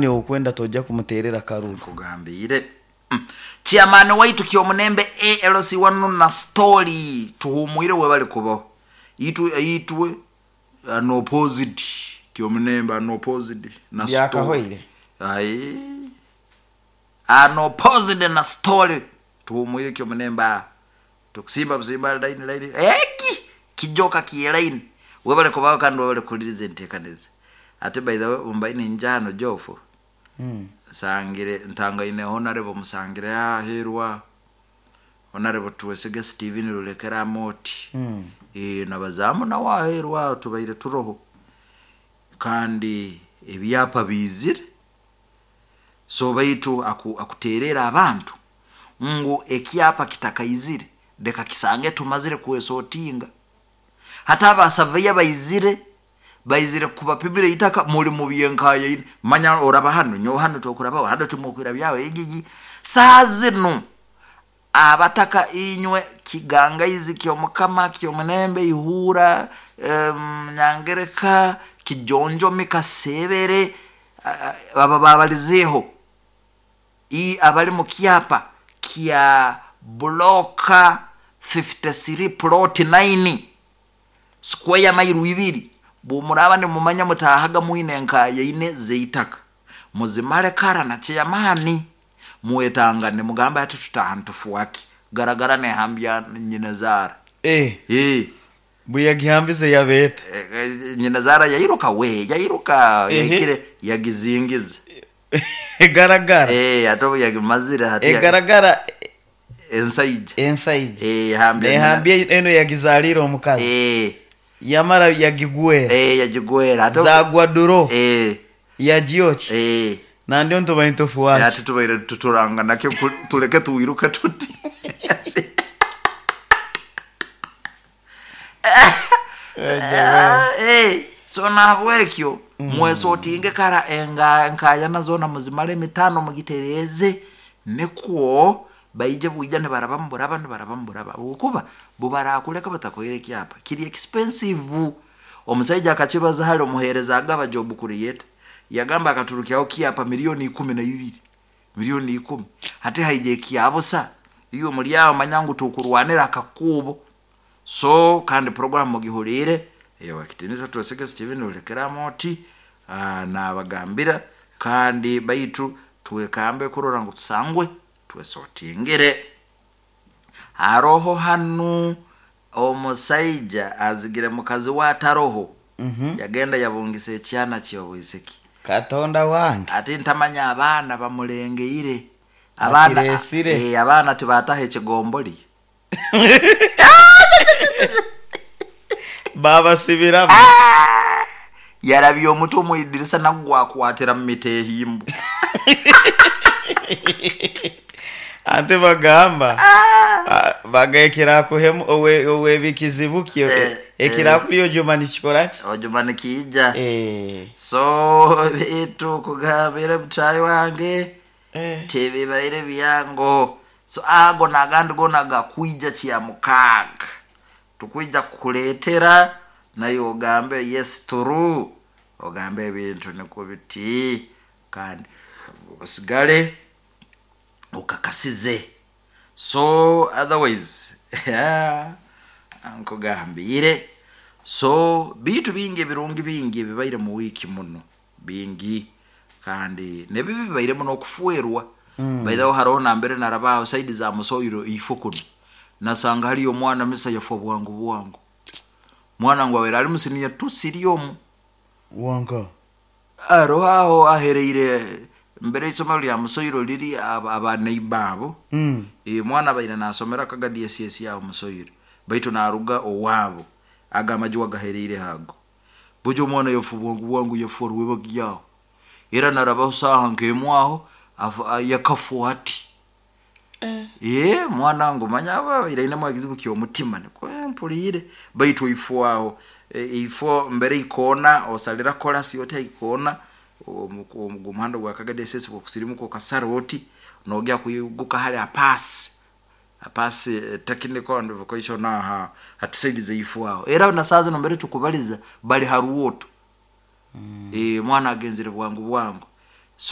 Okwenda tojja kumuterera karuru. Nkugambiire. Chairman waitu Kyomunembe ALC wanu na story tuhumwire webali kubaho. Itwe itwe unopposed Kyomunembe unopposed na story. Byakahoire. Ai. Unopposed na story tuhumwire Kyomunembe aha. Tukusimba busimba line line. Eki kijoka ki line. Webale kubaho kandi webale kuliriza enteekaniza. Ate by the way ombaine njano jofo. Nsangire ntangaine Honorable Musangire aheerwa Honorable Twesige Steven Rulekera Amoti. Nabazamu nawe aheerwa aho tubaire turoho kandi ebyapa biizire so baitu akuteerera abantu ngu ekyapa kitakaizire leka kisange tumazire kwesotinga. Hati abasaveya baizire baizire kubapimira itaka muli mu byenkayaine manya oraba hanu nyowe hanu tokurabaho hanu timukwira byawe egigi saa zinu abataka inywe Kigangaizi Kyomukama Kyomunembe Ihura, Nyangereka Kijonjomi Kasebere aba babalizeeho abali mu kyapa kya bloka 53 plot 9 square mile ibiri bwomuraba nimumanya mutahaga mwine enkayaine z'eitaka muzimale kara na chairman mwetangane mugambe ati tutaha nitufuaki garagara nehambya nyina zaara. Bwe yagihambize yabeeta. Nyina zaara yairuka we yairuka yahikire yagizingiza. Egaragara. Ate obu yagimazire hati egaragara ensaija. Ensaija. Ehambya nyina. Nehambya eno yagizaalire omukazi. Yamara yagigwera. Yagigwera ate zagwa duro. Yagyokya. Nandyo ntubaire ntufuaki. Ati tubaire tuturanga nakyo tuleke tuwiruke tuti. So nahabwekyo mwesotinge kara enkayana zoona muzimale emitano mugitereeze nikwo baije bwija nibaraba muburaba nibaraba muburaba habwokuba bubarakuleka batakuhaire ekyapa kiri expensive. Omusaija akakibaza hali omuheereza agaba job creator yagamba akaturukyaho kyapa 12,000,000 10,000,000 hati haija ekyabusa iwe muli aho manya ngu tukurwanira akakuubo. So kandi program mugihuriire ewakitinisa Twesige Steven Rulekera Amoti nabagambira kandi baitu twekambe kurora ngu tusangwe twesotingire. Haroho hanu omusaija azigire mukazi we ataroho. Yagenda yabungisa ekyana ky'obwisiki. Katonda wange. Ate ntamanya abaana bamulengeire. Abaana Akiresire. Abaana tibataha ekigomboli. Babasibiramu. Yarabya omutwe omu idirisa nagwakwatira mu mitehimbo. Ate bagamba bagekirakuhemu owebikizibu kyo ekirakuli ojuma nikikoraki? Ojuma nikiija. So bitu kugambira mutayi wange tebibaire byango. So ago nagandi gona gakwija kya mukaaga tukwija kukuleetera naye ogambe yes true ogambe ebintu nikwo biti kandi osigale okakasize. So otherwise nkugambire so bitu bingi ebirungi bingi ebibaire mu wiiki muno bingi kandi nebibi bibairemu n'okufuerwa. By the way haroho nambere narabaho saidi za Musoiro ifo kuno nasanga haliyo omwana misa yafa bwangu bwangu mwana ngu abaire ali musiniya tusiri omu Wanka aroho aho ahereire mbere isomero lya Musoiro liri abaneiba abo. Mwana abaire nasomera kaga DSS aho Musoiro baitu naruga owaabo aga amaju agahereire hago bujo omwana yafa bwangu bwangu yafa rwebagyaho era narabaho saaha nk'emu aho yakafwa ati. Mwana ngu manya abaire ainemu ekizibu ky'omutima nikwo mpuliire baitu ifo aho ifo mbere ikoona osalira korasi oti aikoona omuhanda gwa Kaga DSS gwokusirimuka okasara oti nogya kwiguka hali apasi apasi technical and vocational aha hati saidi zeifo aho era na saa zino mbere tukubaliza bali haruoto. Mwana agenzere bwangu bwangu.